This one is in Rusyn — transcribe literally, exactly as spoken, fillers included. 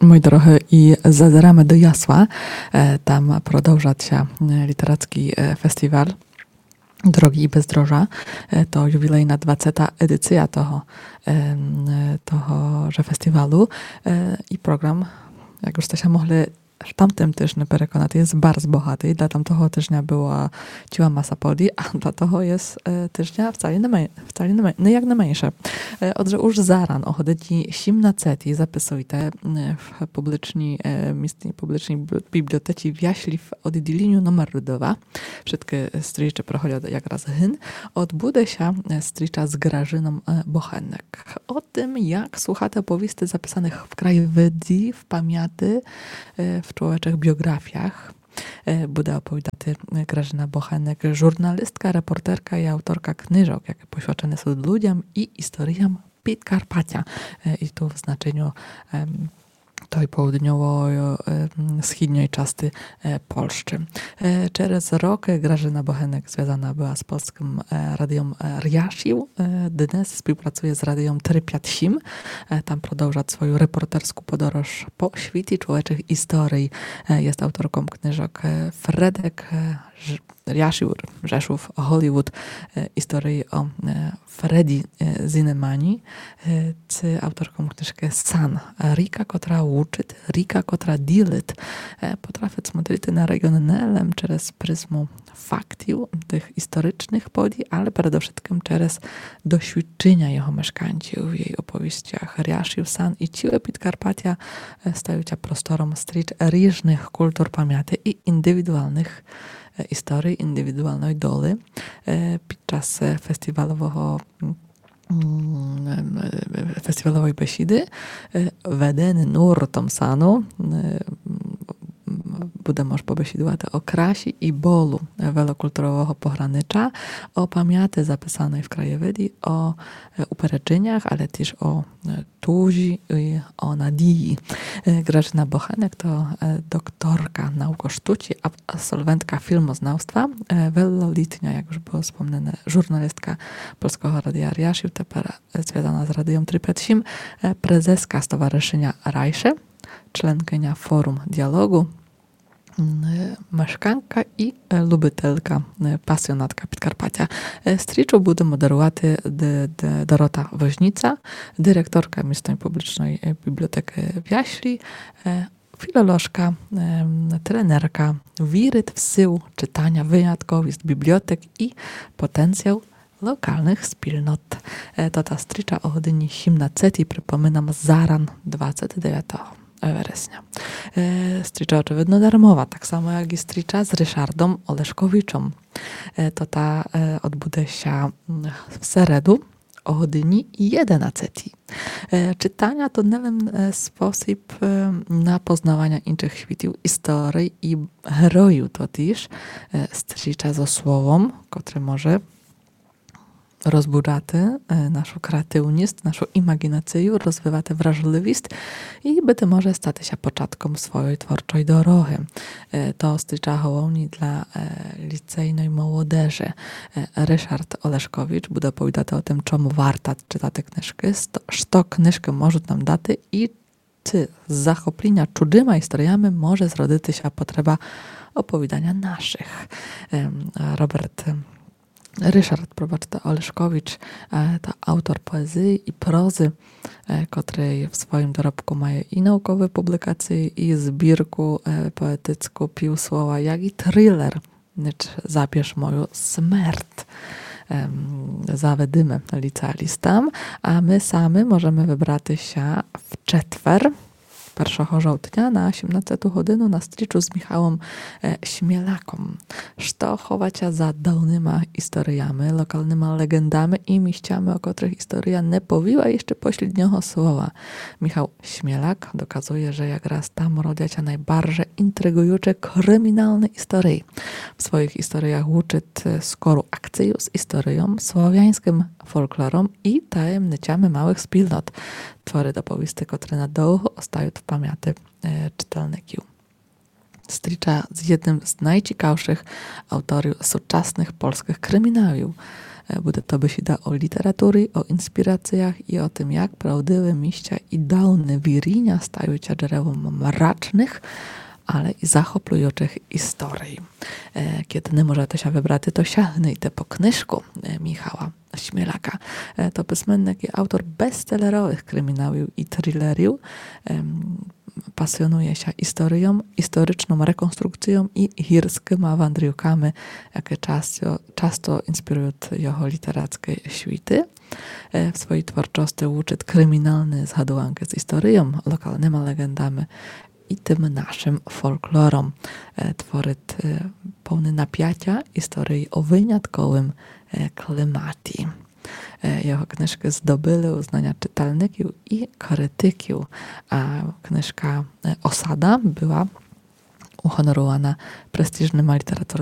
Мої дорогы, і зазираме до Ясла. Е, там продовжат ся, е, літерацкій, е, фестівал Дороґы і бездоріжжя. Е, то ювілейна двадцета едіція того, ем, е, того же фестівалу. Е, і програм, як уж сте ся могли в тамтым тыжню переконати, єст барз богатый. Для тамтого тыжня была цїла маса подій, а для того єст, е, тыжня вцалі не мен-, вцалі не мен-, не як не менше. Е, отже, уж заран о годині сімнадцетій записуйте, е, в публічній, е, містній публічній бі-, бібліотеці в Яслі в одділіню номер два. Вшыткы стрічы проходят якраз гын. Одбуде ся, е, стріча з Гражыном, е, Бохенек. О тым, як слухати оповісти записаных в краєвиді, в памяти, е, в чловечых біоґрафіях, е, буде оповідати, е, Гражына Бохенек, журналістка, репортерка і авторка книжок, якы посвячены сут людям і історіям Підкарпатя. Е, і ту в значеню, ем, той поудньовой, е, м, східньой части, е, Польщы. Е, через рокы Гражына Бохенек звязана была з Польскым, е, радіом, е, Ряшів. Е, днес співпрацує з радіом три пять сім. Е, там продовжат свою репортерску подорож по світі чловечых історій. Е, єст авторком книжок, е, Фредек, е, Ж-, Ряшів, Rzeszów, Hollywood, е, історії о, е, Фредді, е, Зінемані, е, ци авторком книжкы Сан. Ріка, котра учыт, ріка, котра ділит. Е, потрафит смотрити на реґіон не лем через призму фактів, тых історичных подій, але передовшыткым через досвідчыня його мешканців в єй оповістях. Ряшів, Сан і цїле Підкарпатя, е, стають ся простором стріч ріжных культур памяти і індивідуалных, е, історій, індивідуалной долі. Е, під час, е, фестівалового, м, м, е, фестіваловой бесіды, е, ведены нуртом Сану, е, м, будеме уж побесідувати о красі і болу, е, велокультурового погранича, о памяти записаной в краєвиді, о, е, упереджынях, але тіж о, е, тужі і о надії. Е, Гражына Бохенек то, е, докторка наук о штуці, аб-, абсолвентка філмознавства, е, велолітня, як уж было спомнене, журналістка Польского Радія Ряшів, тепер, е, звязана з Радіом три пять сім, е, презеска Стоваришыня Райше, членкыня Форум Діалоґу, м, е, мешканка і, е, любителка, е, пасіонатка Підкарпатя. Е, стрічу буде модерувати Д-, Д-, Дорота Возніца, директорка містной публічной, е, бібліотекы в Яслі, е, філоложка, ем, тренерка, вірит в силу читаня, вынятковіст бібліотек і потенціал локалных спільнот. Е, то та стріча о годині сімнадцетій, припоминам, заран двадцет девятого вересня. Е, стріча очевидно дармова, так само як і стріча з Ришардом Олешковичом. Е, то та, е, одбуде ся, м, в середу о годині єденадцетій. Е, читаня то не лем, е, спосіб, е, на познаваня іншых світів, історій і героїв, то тіж, е, стріча зо словом, котре може розбуджати, е, нашу креативніст, нашу імаґінацию, розвивати вражливіст і быти може стати ся початком свойой творчой дорогы. Е, то стріча головні для, е, ліцейной молодежы. Е, Ришард Олешкович буде оповідати о тым, чому варто читати книжкы, сто-, што книжкы можуть нам дати і ци з захопліня чужыма історіями може зродити ся потреба оповіданя нашых. Ем, Роберт, ем, Ришард, пробачте, Олешкович, е, то автор поезії і прозы, е, котрый в своїм доробку має і науковы публікації, і збірку, е, поетицку Півслова, як і трилер Ніч забєш мою смерть. Ем, заведиме ліцеалістам, а мы самы можеме выбрати ся в четвер, першого жовтня, на сімнадцету годину на стрічу з Міхалом, е, Смєлаком. Што ховать ся за давныма історіями, локалныма леґендами і місцями, о котрых історія не повіла іщы посліднього слова. Міхал Смєлак доказує, же якраз там родят ся найбарже інтриґуючы кріміналны історії. В своїх історіях лучыт, е, скору акцію з історійом, славяньскым фолклором і таємничами малых спільнот. Творит оповісти, котры надовго остають в памяти, е, читальників. Стріча з єдным з найцікавшых авторів сучасных польскых кріміналів. Е, буде то бесіда о літературі, о інспірацыях і о тым, як правдивы місця і даўне віріня стають ся джерелом мрачных, але і захоплюючых історій. Е, кеды не можете ся выбрати, то сягнуйте по книжку, е, Міхала Сміляка. Е, то письменник і автор бестселеровых криміналів і трилерів. Ем, пасіонує ся історіом, історичным реконструкційом і гірскыма вандрівками, якы часто, часто інспірують його літерацкы світы. Е, в своій творчости лучыт криміналны згадуванкы з історіом, локалныма леґендами і тым нашым фолклором. Е, творыт, е, повны напятя історій о вынятковым, е, кліматі. Е, його книжкы здобыли узнаня читальників і критиків, а книжка, е, Осада была угонорувана престіжныма літературныма